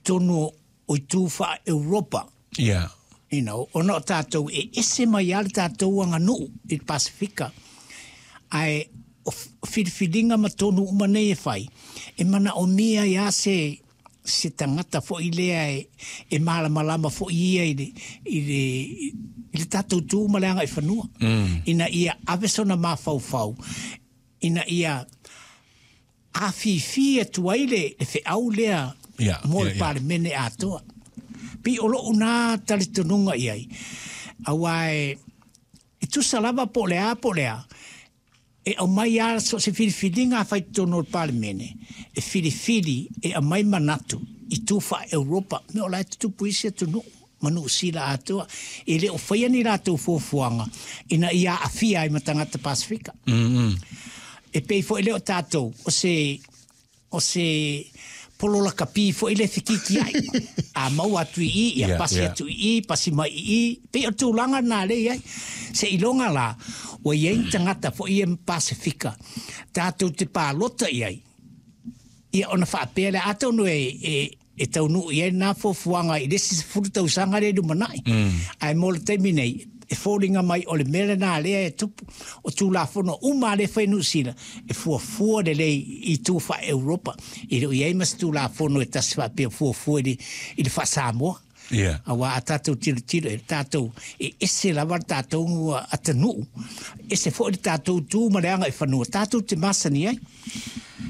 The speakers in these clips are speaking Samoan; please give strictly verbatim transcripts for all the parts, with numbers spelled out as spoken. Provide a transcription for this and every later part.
totonu o itu faa-Europa. Ia. You know, ona o tatou e ese mai lava le tatou aganuu i le Pasefika. Ae o filifiliga ma tonu uma nei e fai, e manaomia ai lava se se tagata foi lea e, e malamalama foi ia i le, i le, i le tatou tu ma le agaifanua. Mm. Ina ia ave sona mafaufau, ina ia afifi atu ai le, le feau lea Ia, mo ia, le ia. Palemene atoa. Pei o lou na talitonuga i ai. Aua e, e tusa lava po o le a po o le a, e aumai lava so o se filifiliga a fai i totonu o le Palemene, e filifili e aumai manatu i tu faa-Europa, mea o la e tutupu i isi atunuu ma Niu Sila atoa. E le o faia ni latou fuafuaga ina ia aafia ai ma tagata Pasefika. Mm, mm. E pei foi lea o tatou, o se, o se polo lakapi foi le fekikiai. A maua atu i i, ia Yeah, pasi yeah. atu i i, pasi mai i i. Pei o tulaga na le i ai. Seiloga la, ua i ai ni tagata foi ia Pasefika, tatou te palota i ai. Ia ona faapea lea, atonu e, e, e taunuu i ai lena fuafuaga i le isi sefulu tausaga lea i lumanai. Ae mo le taimi nei, e foliga mai o le mea lena lea e tupu. O Tulafono uma lea e fai i Niu Sila, e fuafua lelei i itu faa-Europa. E le o i ai ma se Tulafono e tasi faapea fuafua i le, i le faa-Samoa. Ia. Aua a tatou tilotilo e tatou e ese lava le tatou atunuu, ese foi le tatou tu ma le agaifanua tatou te masani ai.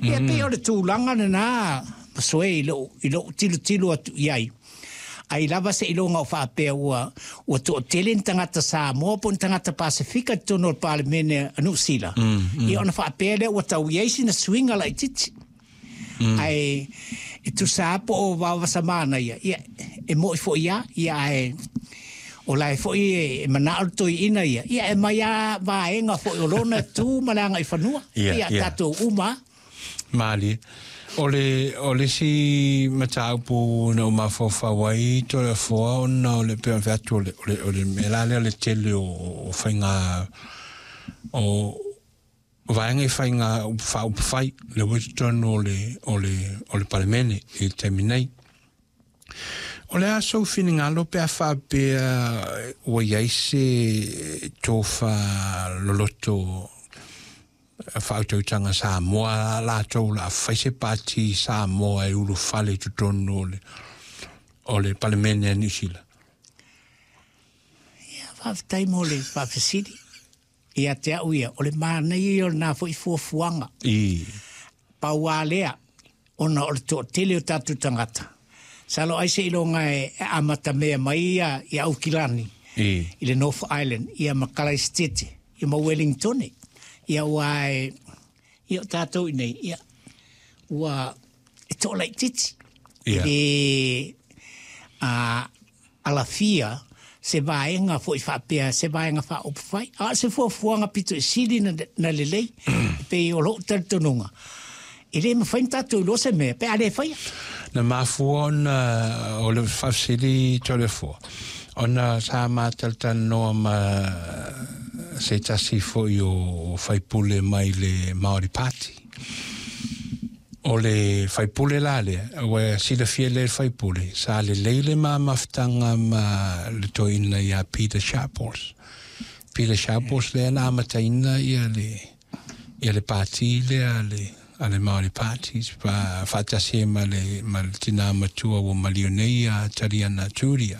Ia pei o le tulaga lena Pasoe i lou, i lou tilotilo atu i ai. Ai lava seiloga o faapea ua, ua toatele ni tagata Samoa po o ni tagata Pasefika i totonu o le Palemene a Niu Sila. Ia ona faapea lea ua tau i ai sina suiga laitiiti. Ae e tusa lava po o vaovasa manaia, ia e moni foi lava, ia ae o la e foi e manao le toeaina ia, ia e aumai lava vaega foi o lona tu ma le agaifanua. Ia, Ia ia. tatou uma lava. Malie. O le, o le isi mataupu na ou mafaufau ai Toleafoa ona o le pei ona fai atu o le, o le, o le mea la lea o le tele o, o faiga o vaega i faiga faaupufai lea ua i totonu o le, o le, o le Palemene i le taimi nei. O le a sou finagalo pe a faapea ua i ai se tofa loloto faautautaga Samoa latou o le a fai se pati Samoa e ulufale i totonu o le, o le Palemene a Niu Sila? Ia, faafetai mo le faafesili. Ia te au ia, o le manaia ia o lena foi fuafuaga. I. Pau lava lea, ona o le toatele o tatou tagata. Masalo ai seiloga e amatamea mai ia i Aukilani, I. i le North Island, ia ma Kalaisitete, ia ma Wellingtone. Ia aua e, ia o tatou i inei, ia, ua e toalaitiiti. Ia. E le a, alafia se vaega foi faapea, se vaega faaupufai. A o se fuafuaga pito i sili na, na lelei, e pei o lou talitonuga. E le mafai ona tatou iloa se mea pe a le faia. Na mafua ona o le faafesili Toleafoa, ona sa matalatalanoa ma se tasi foi o faipule mai le Māori Party. O le faipule la lea, ua silafia lea le faipule, sa lelei le ma mafutaga ma le toeaina ia Peter Sharples. Peter Sharples lea na amataina ia le, ia le pati lea a le, a le Māori Party, fa, faatasi ai ma le, ma le tina matua ua maliu nei a Tariana Turia.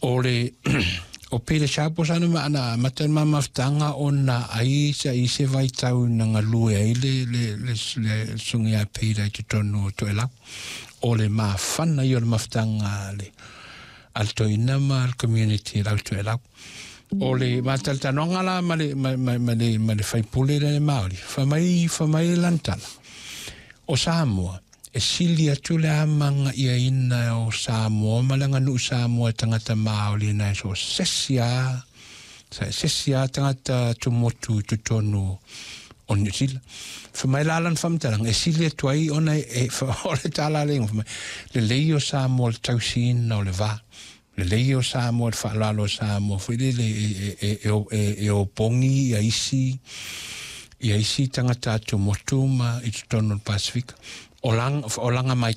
O le, o Peter Sharples ana ma ana amata le ma mafutaga ona ai sa i se vaitau na galue ai le, le, le, le susuga ia Peter i totonu o Toelau. O le mafana ia o le mafutaga a le, a le toeaina ma le community o le au Toelau. O le matalatalanoaga la ma le, ma, ma, ma le, ma le faipule lea le Māori, fai mai, fai mai le lana tala. O Samoa, e sili atu le amagaiaina o Samoa ma le aganuu Samoa e tagata Māori nai so se isi a, se se isi a tagata tumotu i totonu o Niu Sila. Fai mai la lana faamatalaga, e sili atu ai ona e, e, o le tala le fai mai, lelei o Samoa le tausiina o le va. Lelei o Samoa le faaaloalo o Samoa foi lele e, e, e, e, e opogi ia isi ia isi tagata atumotu ma i totonu o le Pasefika. O laga, o laga mai